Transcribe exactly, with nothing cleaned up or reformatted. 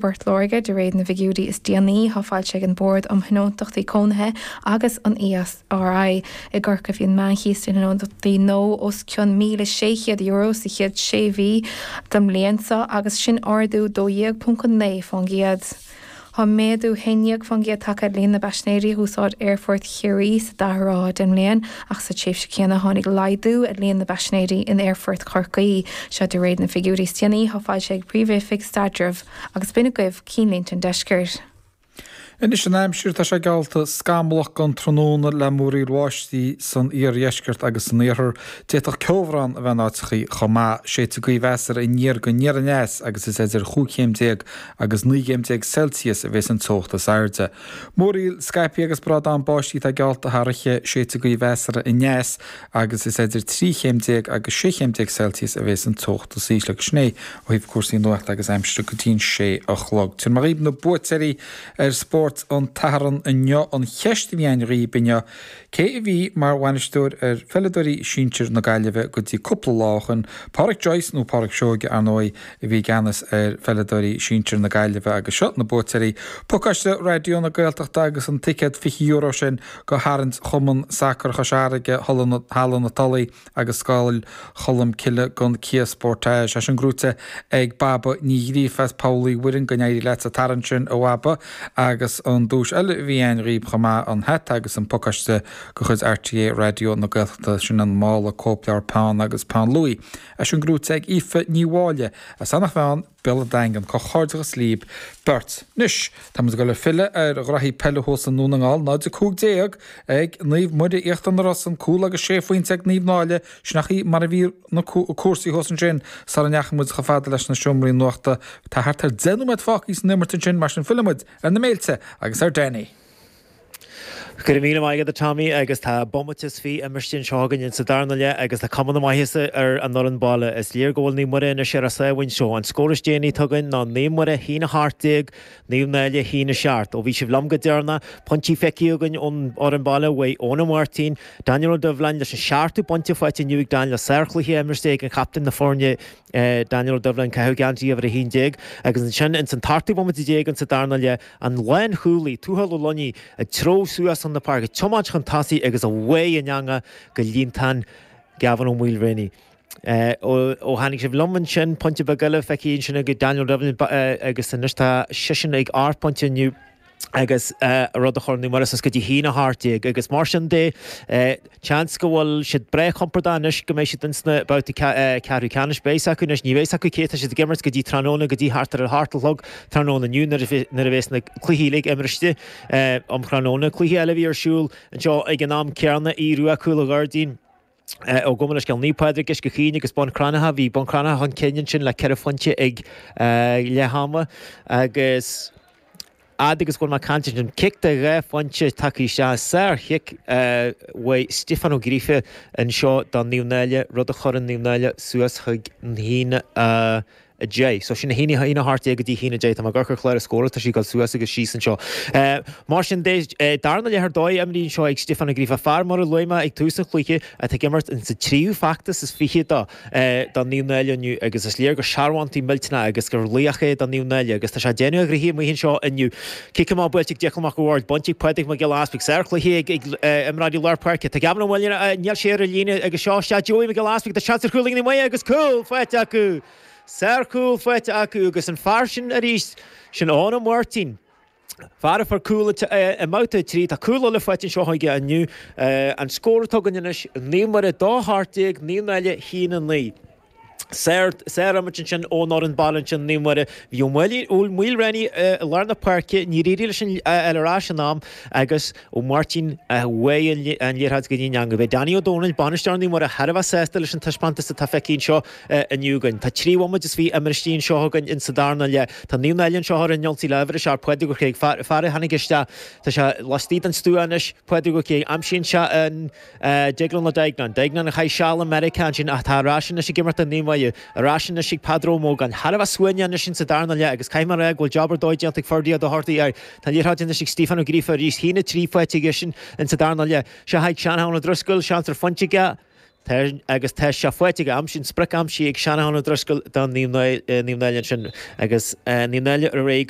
Port Láirge de réir na bhfigiúirí is déanaí atá foilsithe ag an Bord um Thionóntachtaí Cónaithe agus an E S R I. I gCorcaigh bhí an meánchíos i dtionóntachtaí nua os cionn míle sé chéad euro sa chéad sé mhí den mbliain seo agus sin ardú dó dhéag ponc a naoi faoin gcéad. Tá méadú haon déag faoin gcéad tagtha ar líon na bpaisinéirí a úsáid Aerfort Chiarraí sa dara ráithe den mbliain, ach sa tréimhse céanna tháinig laghdú ar líon na bpaisinéirí in Aerfort Chorcaí. Seo de réir na bhfigiúirí is déanaí atá foilsithe ag Príomh-Oifig Staidrimh agus b'in agaibh cinnlínte an deiscirt. Anois an aimsir. Tá sé geallta scamallach don tráthnóna le múraíl bháistí san iardheisceart agus san iarthar. D'fhéadfadh ceobhrán a bheith in áiteachaí chomh maith. Séidfidh gaoth mheasartha aniar go aniar aneas agus is idir chúig chéim déag agus naoi gcéim déag Celsius a bheas an teocht is airde. Múraíl scaipthe agus brádán báistí atá geallta thar oíche. Séidfidh gaoth mheasartha aneas agus is idir trí chéim déag agus sé chéim déag Celsius a bheas an teocht is ísle. Agus sin é ó thaobh cúrsaí nuachta agus aimsire go dtí an sé a chlog. Tabharfaidh mé dhaoibh na buaiteoirí ar spórt an tSathairn inniu. An cheist a bhí againn dhaoibh inniu: cé a bhí mar bhainisteoir ar pheileadóirí sinsir na Gaillimhe go dtí cúpla lá ó shin? Pádraic Joyce nó Pádraic Seoige, ar ndóigh, a bhí i gceannas ar pheileadóirí sinsir na Gaillimhe. Agus seo na buaiteoirí: pacáiste Raidió na Gaeltachta agus an ticéad fiche euro sin go harraint Chumann Sacair Chois Fharraige, Halla na Tulaí agus Scoil Cholm Cille don Kia Sportage. É sin gnóite ag Baba Ní Ghríofa as Poll Uí Mhuirinn. Go n-éirí leat sa tarraingt sin, a Bhaba. Agus an duais eile a bhí againn dhaoibh chomh maith, an hata agus an pacáiste de chuid R T É Raidió na Gaeltachta, sin an mála, cóipleabhar, peann agus peann luaidhe. É sin gnóite ag Aoife Ní Mháille as Eanach Mheáin, Béal an Daingin. Comhghairdeachas libh beirt. Anois táimid ag dul ag filleadh ar ghraithí peile thuas i nDún na nGall. náid a cúig déag ag Naomh Muire Íochtar na Rosann, cúl agus sé phointe ag Naomh Náille. Sin í mar a bhí na cúrsaí thuas ansin sara ndeachaigh muid chomh fada leis na seomraí nuachta. Tá thart ar deich nóiméad fágtha san imirt ansin, mar sin fillfimid ar na méilte agus ar Danny. Go raibh míle maith agat, Tommy, agus tá bomaite is fiche imirte anseo againn sa darna leath agus tá cuma na maitheasa ar an fhoireann baile. Is léir go bhfuil Naomh Muire anois ar a sámhain seo. An scór is déanaí atá againn ná Naomh Muire haon a hocht déag, Naomh Náille haon a seacht. Ó bhí sibh liom go deireanach, pointí feicthe againn ón fhoireann baile uaidh Eoin Ó Máirtín, Daniel Ó Doibhleáin leis an seachtú pointe faighte inniu ag Daniel, sárchluiche imirte ag an chaptaen na foirne, Daniel Ó Doibhleáin, caitheamh geansaí uimhir a haon déag, agus ansin ins an t-ochtú bomaite déag in sa darna leath, an lánchúlaí Tuathal Ó Loinigh ag treabhadh suas an na páirce, tiomáint chun tosaigh agus a bhaidh an eanga go líontán Gavin Ó Maoilréanaí. Ó ó tháinig sibh liom ansin, pointe beag eile feicthe ansin ag Daniel Devlin agus anois tá seisean ag ocht bpointe inniu agus rud a chur mar is go dtí haon a hocht déag. Agus mar sin de, seans go bhfuil siad breá compordach anois go mbeidh siad insna babhtaí ceathrú ceannais. Beidh acu anois, ní bheidh acu cé tá siad ag imirt go dtí tráthnóna, go dtí thart ar a hocht a chlog tráthnóna inniu nuair a bheas na cluichí uilig imirte um thráthnóna. Cluiche eile a bhí ar siúl anseo ag an am céanna, Aodh Rua Cúil an Ghairdín. Ó gabh mo leithscéal, Naomh Pádraig Uisce Chaoin agus Bun Cranncha. Bhí Bun Cranncha chun cinn ansin le ceithre phointe ag leath ama agus fhad agus go bhfuil mé ag caint ansin, cic de dhá phointe tagtha isteach, sárchic uaidh Stiofán Ó Gríofa anseo do Naomh Náille, rud a chuireann Naomh Náille suas chuig an haon a deich. So sin a haon haon a hocht déag go dtí haon a deich. Tá mé ag amharc ar chlár an scórála, tá sí ag dul suas agus síos anseo. Mar sin de, darna leath ar dóigh imrithe anseo ag Stiofán Ó Gríofa, fear, mar a luaigh mé ag tús an chluiche, atá ag imirt in sa tríú feachtas is fiche do do Naomh Náille inniu agus is léir gur searbhóntaí millteanach agus gur laoch é do Naomh Náille agus tá sé ag déanamh a ghnoithe amuigh anseo inniu. Cic amach buailte ag Declan Mac Ward, bainte ag Pádraig Mac Giolla Easpaig, sárchluiche ag ag imreoirí lár páirce. Tá Gavin Ó Maoilín, níl sé ar an líne agus seo isteach Joey Mac Giolla Easpaig, tá seans ar chúl ag Naomh Muire agus cúl faighte acu. Sárchúl faighte acu agus an fear sin arís, sin Eoin Ó Máirtín. Fear a fuair cúl i mbabhta a trí, tá cúl eile faighte anseo aige inniu. An scór atá againn anois, Naomh Muire dó hocht déag, Naomh Náille haon a naoi. Sár sárimint ansin ón fhoireann baile ansin, Naomh Muire. Bhí Ó Maoilréanaí i lár na páirce, níor éirigh leis an fháil ar ais in am agus Ó Máirtín a bhuaigh an liathróid go dtí an eangach. Beidh Danny Ó Dónaill, bainisteoir Naomh Muire, thar a bheith sásta leis an taispeántas atá feicthe anseo inniu againn. Tá trí bhomaite is fiche imirte anseo againn in sa darna leath. Tá Naomh Náille anseo ar an ionsaí le uimhir a seacht, Pádraig Ó Céig, fear a tháinig isteach. Tá sé laistigh den stua anois, Pádraig Ó Céig. Aimsíonn sé an Deaglán Ó Duigneáin. Duigneáin a chaith seal i Meiriceá ansin ach tá ar ais anois ag imirt do Naomh Muire. Ar ais anois ag Peadar Ó Mógáin. Thar a bheith suaimhneach anois in sa darna leath agus caithfidh mé a rá go bhfuil job ar dóigh déanta ag Ferdia Ó Dochartaigh air. Tá an liathróid anois ag Stephen Ó Gríofa arís. Haon a trí faighte aigesean in sa darna leath. Seo chuig Seán Ó Driscoll, seans ar phointe aige. Tá agus tá sé faighte aige aimsíonn sprioc aimsithe ag Seanachán Ó Drisceoil do Naomh Náille ansin agus Naomh Náille ar aghaidh go